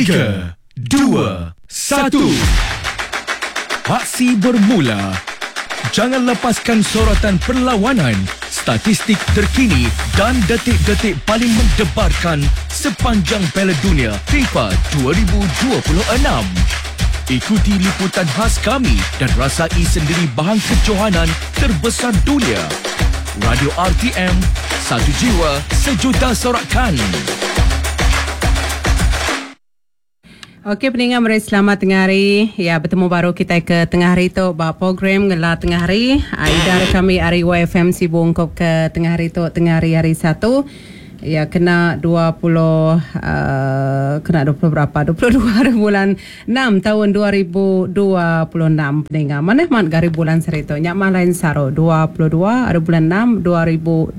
Tiga, dua, satu. Aksi bermula. Jangan lepaskan sorotan perlawanan, statistik terkini dan detik-detik paling mendebarkan sepanjang Piala Dunia FIFA 2026. Ikuti liputan khas kami dan rasai sendiri bahan kejohanan terbesar dunia. Radio RTM, satu jiwa, sejuta sorakan. Okey peninga meri selamat tengah hari. Ya betemu baru kitai ke tengah hari tu ba program ngela tengah hari. Idar kami ari YFM Sibu ungkup ke tengah hari tu tengah hari hari Satu. Ya kena 20 uh, kena 20 berapa? 22 hari bulan 6 tahun 2026 peninga. Manah mat gari bulan saritu. Nya mah lain saru 22 hari bulan 6 2026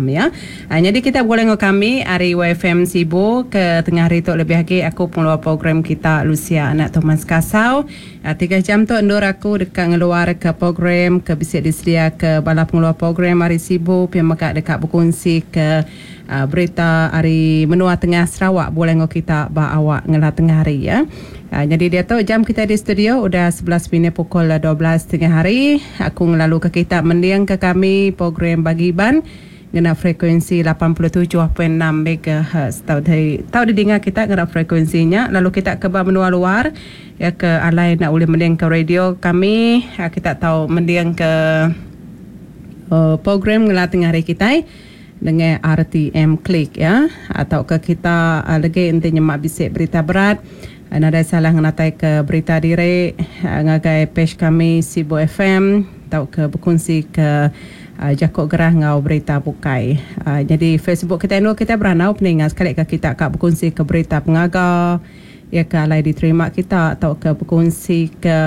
ya. Uh, jadi kita boleh ngau kami ari YFM Sibu ke tengah hari tu lebih agi aku pengeluar program kita Lucia anak Thomas Kasau. Uh, 3 jam tu endur aku deka ngeluar ke program ke bisi disedia ke bala pengeluar program ari Sibu pia mega deka berkongsi ke uh, berita ari menua tengah Sarawak boleh ngau kita ba awak ngela tengah hari ya. Uh, jadi dia tu jam kita di studio udah 11 minit pukul 12 tengah hari. Aku ngelalu ke kita mending ke kami program bagi Iban ngena frekuensi 87.6 MHz. Tau di tau didengar kita ngena frekuensinya lalu kita ke ba menua luar ya ke alai nak boleh mending ke radio kami ya, kita tahu mending ke uh, program ngela tengah hari kita dengan RTM Klik ya atau ke kita uh, lagi enti nyemak bisik berita berat uh, nadai salah ngenatai ke berita diri uh, ngagai page kami Sibu FM atau ke berkongsi ke uh, jakok gerah ngau berita bukai. Uh, jadi Facebook kita nu kita beranau peningat sekali ke kita kak berkongsi ke berita pengaga ya ke alai diterima kita atau ke berkongsi ke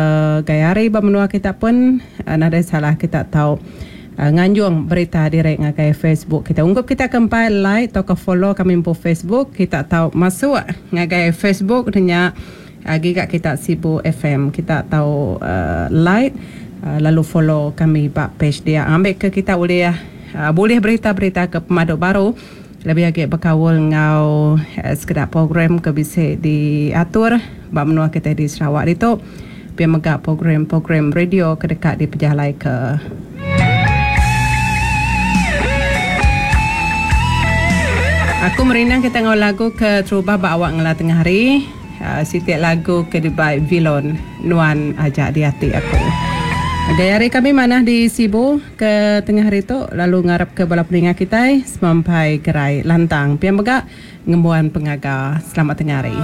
gaya hari ba menua kita pun uh, nadai salah kita tahu uh, nganjung berita direct ngagai Facebook kita. Ungkup kita kempai like atau ke follow kami po Facebook, kita tahu masuk ngagai Facebook nya uh, giga kita Sibu FM. Kita tahu uh, like uh, lalu follow kami bak page dia. Ambil ke kita boleh uh, boleh berita-berita ke pemaduk baru lebih agi berkawal ngau uh, sekedar program ke bisa diatur bak menua kita di Sarawak itu. Biar megak program-program radio ke dekat di pejalai ke. Aku merindang kita ngau lagu ke terubah bak awak ngela tengah hari. Uh, sitik lagu ke dibai Vilon Nuan Ajak di Hati Aku. Gaya hari kami mana di Sibu ke tengah hari tu lalu ngarap ke bala peningat kita semampai gerai lantang. Pian megak ngembuan pengaga. Selamat tengah hari.